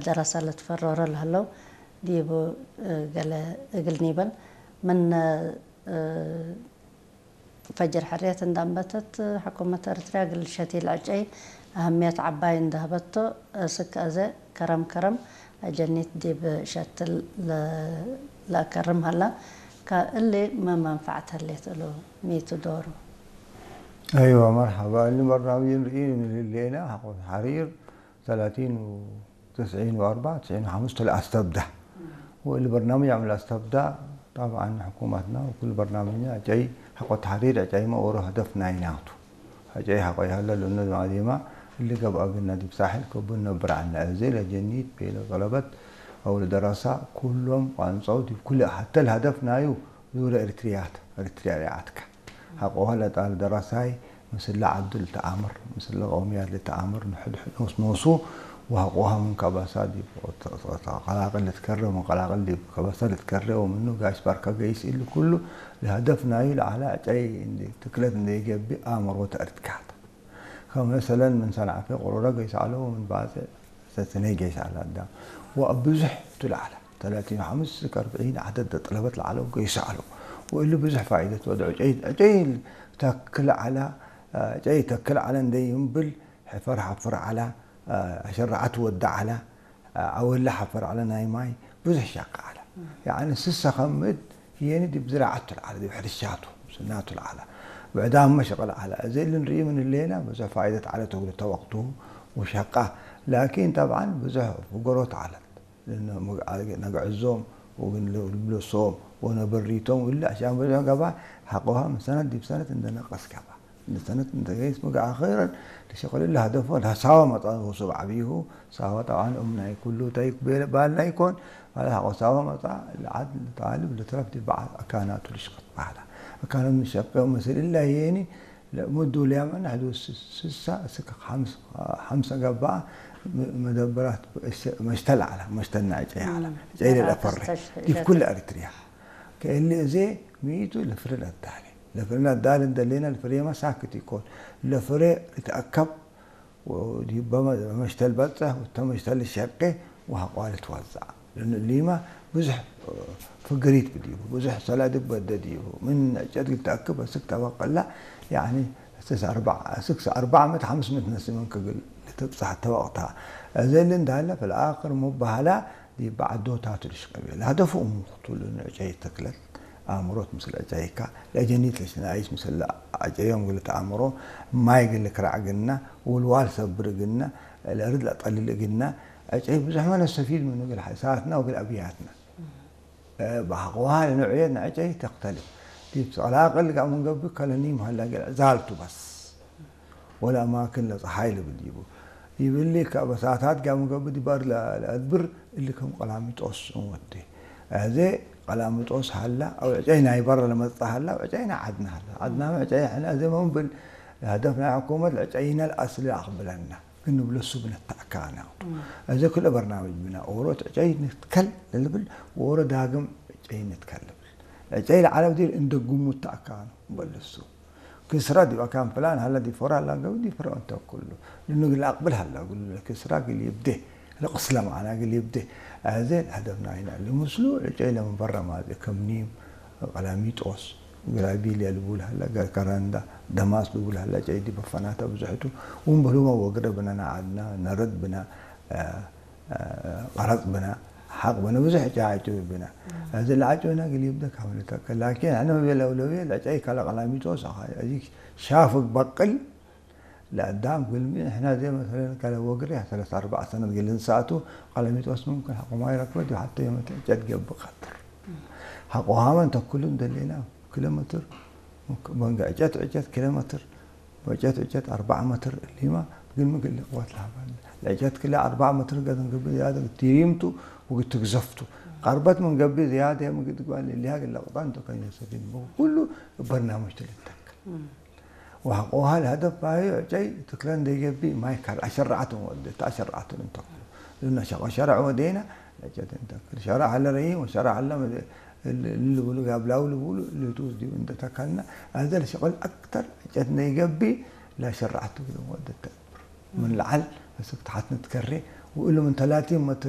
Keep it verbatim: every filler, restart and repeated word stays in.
ደረሰ ለትፈረረ ለህለው ዲቡ፣ እ፣ ገለ እግል ኒበል ምን፣ እ፣ ፈጅር ሕርየት እንደ አንበተት፣ ሕኩመት ኤረትርያ እግል ሸቲል ዕጨይ አህምየት ዐባይ እንደ ሀበቶ፣ እስክ አዜ ከረም ከረም አጀኒት ዲብ ሸትል ለ-፣ ለአከርም ሀላ። ከእሊ ምን መንፈዐት ህሌት እሉ? ሚቱ ዶሩ? አይወ፣ መርሐባ። እሊ በርናምጅ እንርኢ ምን ህሌና፣ ሐቆ ተሕሪር ተላቲን ወትስዒን ወአርበዕ፣ ትስዒን ወሐምስ ለአስተብዳ። ወእሊ በርናምጅ አምል አስተብዳ፣ ጠብዐን ሕኩመትና ወክል በርናምጅና ዕጨይ፣ ሐቆ ተሕሪር ዕጨይመ ኦሮ ሀደፍ ናይናቱ። ዕጨይ ሐቆ ይሀለ ለእነ ማዴማ እሊ ገብአ ግና ዲብ ሳሕል ከቡ ነብር ዐልነ። አዜ ለጀኒት ቤለ ጠለበት አው ለደረሳ ኩሎም ቋንጸው ዲብ ኩለ ሐተ ለሀደፍ ናዩ ዙረ ኤሪትርያት፣ ኤሪትርያ ሪዓትከ። ሐቆሀ ለጣል ደረሳይ ምስለ ዐዱ ልትአምር፣ ምስለ ቀውምያት ልትአምር፣ ንሕድ ኖስ ኖሱ ወሐቆሀ ምን ከበሳ ዲብ ቀላቅል ልትከሬ ወምን ቀላቅል ዲብ ከበሳ ልትከሬ ወምኑ ጋሽ ባርከ ገይስ እሊ ኩሉ ለሀደፍ ናዩ ለዐለ ዕጨይ እንዴ ትክለት እንዴ ኢገብእ አእምሮ ተአርድካተ። ከመሰለን ምን ሰንዓፌ ቅሩረ ገይስ ዐለው ወምን ባጽዕ ሰስኔ ገይስ ዐለ አዳም። ወእብ ብዙሕ ቱ ለዐለ። ተላቲን ወሐምስ እስክ አርብዒን ዐደድ ጠለበት ለዐለው ገይሰ ዐለው። ወእሊ ብዙሕ ፋኢደት ወደ ዕጨይ፣ ዕጨይ ተክል ዐለ፣ ዕጨይ ተክል ዐለ እንዴ ይንብል፣ ሕፈር ሐፍር ዐለ፣ አሸረዐት ወደ ዐለ፣ አወለ ሐፈር ዐለ፣ ናይ ማይ ብዙሕ ሸቀ ዐለ። ያኒ ስሰ ከምእት የኒ ዲብ ዝራዐቱ ለዐለ፣ ዲብ ሕርሻቱ፣ ስናቱ ለዐለ፣ ብዕዳምመ ሸቀል ዐለ። እዜ እሊ እንርእዩ ምን ህሌና ብዙሕ ፋኢደት ዐለት እግሉ ተ ወቅቱ ወሸቀ። ላኪን ጠብዐን ብዙሕ ፍገሮት ዐለት። ለእነ መግ-፣ ነግዕዞም ወግን ልብሎሶም ወነበሪቶም እሊ አሽያም በዝሖ ገብአ፣ ሐቆሀ ምን ሰነት ዲብ ሰነት እንደ ነቀስ ገብአ። እንደ ሰነት እንደ ገይስ ምግዕ አኺረን ለሸቅል እሊ ሀደፎ ለሳወ መጽአ ወሱብ ዐቢሁ። ሳወ ጠብዓን እም ናይ ኩሉ ተይክ ቤለ ባልና ኢኮን። ማለት ሐቆ ሳወ መጽአ ለዐድ ለጣልብ ለትረፍ ዲብ በዐል አካናቱ ልሽቅጥ በህላ። አካናት ምሸቄ ምስል እላ የኒ ለእምዱ ለያመን ሐዱ ስሳ እስክ ሐምስ-፣ ሐምሰ ገብአ መ-፣ መደበራት መሽተል ዐለ፣ መሽተል ናይ ዕጨይ ዐለ። እም፣ ዕጨይ ለለአፈሬ መደበራት ዲብ ኩለ ኤሪትርያ። ከእሊ እዜ ሚቱ ለፍሬ ለአዳሌ። ለፍሬ ለአዳሌ እንደሌና ለፍሬመ ሳክት ኢኮን። ለፍሬ ልትአከብ ወዲበ መ-፣ መሽተል በጽሕ ወተ መሽተል ሸቄ ወሐቋ ልትወዘዕ። ለእነ እሊመ ብዙሕ ፍግሪት ብዲቡ፣ ብዙሕ ሰላድብ በደ ዲቡ። ምን ዕጨት እግል ተአክብ አስክ ተበቅላ፣ ያኒ ስስ አርበዕ፣ ስክስ አርበዕ ምእት ሐምስ ምእት ነስመ እንክብል ልትብጸሕ ተወቅታ። እዘ እሊ እንዳለ፣ ፈልአክር ሙባህላ ዲብ ዐዶታቱ ልሽቀብ። ለሀደፉ እሙ ክቱሉ ዕጨይ ተክለት አእምሮት ምስል ዕጨይካ፣ ለአጀኒት ለሽናይስ ምስል ለአጨዮም እግል ተአምሮ፣ ማይ እግል ልክራዕ እግልና፣ ውልዋል ሰብር እግልና፣ ለእርድ ለአጠልል እግልና፣ ዕጨይ ብዙሕ ማ ነስተፊድ ምኑ እግል ሐሳትና ወእግል አብያትና። በሐቆሃ ለነውዕየት ነዕጨይ ተክተልፍ። ዲብ ቀላቅል ጋር ምን ገብእ ከለኒም ሀላ እግል ዕዛልቱ በስ። ወለአማክን ለጸሓይ ልብል ዲቡ። ዲብ እሊ ከበሳታት ጋር ምን ገብእ ዲባር ለ-፣ ለአድብር እሊ ከም ቀላሚጦስ እንወዴ። አዜ ቀላሚጦስ ሀላ አው ዕጨይ ናይ በረ ለመጽአ ሀላ አው ዕጨይ ናይ ዐድነ ሀላ። ዐድናመ ዕጨይ ሕነ አዜ መምብል ለሀደፍ ናይ ሕኩመት ለዕጨይነ ለአስሊ አቅብለና። ግን ንብለሱ ብነተአካነ። እም። አዜ ክለ በርናምጅ ብነ ኦሮ ዕጨይ ንትከል ለልብል ወኦሮ ዳግም ዕጨይ ንትከል ልብል። ዕጨይ ለዐለ ብዲር እንደ ግሙት ተአካኑ በልሱ። ክስረ ዲብ አካን ፍላን ሀለ ዲብ ፎራ ላገቡ ዲብ ፍረ እንተ ኩሉ። ልኑ እግል አቅብል ሀለ እግሉ ለክስራ እግል ይብዴ፣ ለቅስለ መዓና እግል ይብዴ። አዜ ለሀደፍ ናይነ እሊ ምስሉ ዕጨይ ለምን በረ ማዜ ከም ኒም፣ ቀላሚጦስ፣ ግራቢልያ ልቡል ሀለ፣ ገርከረንዳ፣ ደማስ ልቡል ሀለ፣ ጨይዲ በፈናተ ብዙሕቱ፣ ወእምበሉመ ወግረ ብነ ነዓድና፣ ነረድ ብነ፣ አ፣ አ፣ ቀረጽ ብነ፣ ሐቅ ብነ፣ ብዙሕ ጫ ዐጭ ብነ። እም። እዚ ለዐጭ ብነ እግል ይብደ ካምልተከ። ላኪን፣ አነ መቤ ለውለቤ፣ ለጨይ ከለ ቀላሚጦስ፣ አኻ፣ እዚ ሻፍግ በቅል፣ ለአዳም ግልሚ፣ እሕና ዘይ መሰለን ከለ ወግሬ ሰለስ አርበዕ ሰነት ግል እንሳቱ፣ ቀለሚጦስ ሙምክን ሐቆ ማይ ረክበት ዲብ ሐተ የመት ዕጨት ገብእ ቀትር። ሐቆ ሀመን ተኩሉ እንደሌና ኪሎ ሜትር፣ መንገ ዕጨት ዕጨት ኪሎ ሜትር፣ ወዕጨት ዕጨት አርበዕ ሜትር እሊማ፣ ግልሚ ግል ቅወት ለሀባለ። ለዕጨት ክለ አርበዕ ሜትር ገዘን ገብእ ዝያደ ቲሪምቱ ወግትግዘፍቱ። ቀርበት ምን ገብእ ዝያደ ምግድ ግባል እሊሃ ግለ ቅጣን ተከኝ ሰፊን ኩሉ በርናምጅ ትልተክ። ወሐቆሃ ለሀደፍ ባዩ ዕጨይ ትክለ እንዴ ገብእ ማይ ካል አሸረዐት ወደ ተአሸረዐት እንተክሉ። ልነ ሸቆ ሸረዕ ወዴና ለጨት እንተክል። ሸረዕ አለ ረይም ወሸረዕ አለ መደ-፣ እል-፣ እል ልቡሉ ጋብላው ልቡሉ ልቱስ ዲብ እንደ ተከልና። አዘ ለሸቆል አክተር ዕጨት እንዴ ገብእ ለሸረዐት ወደ ተክብር። ምን ለዓል እስክ ተሐት ንትከሬ ወእሉ ምን ተላቲን መትር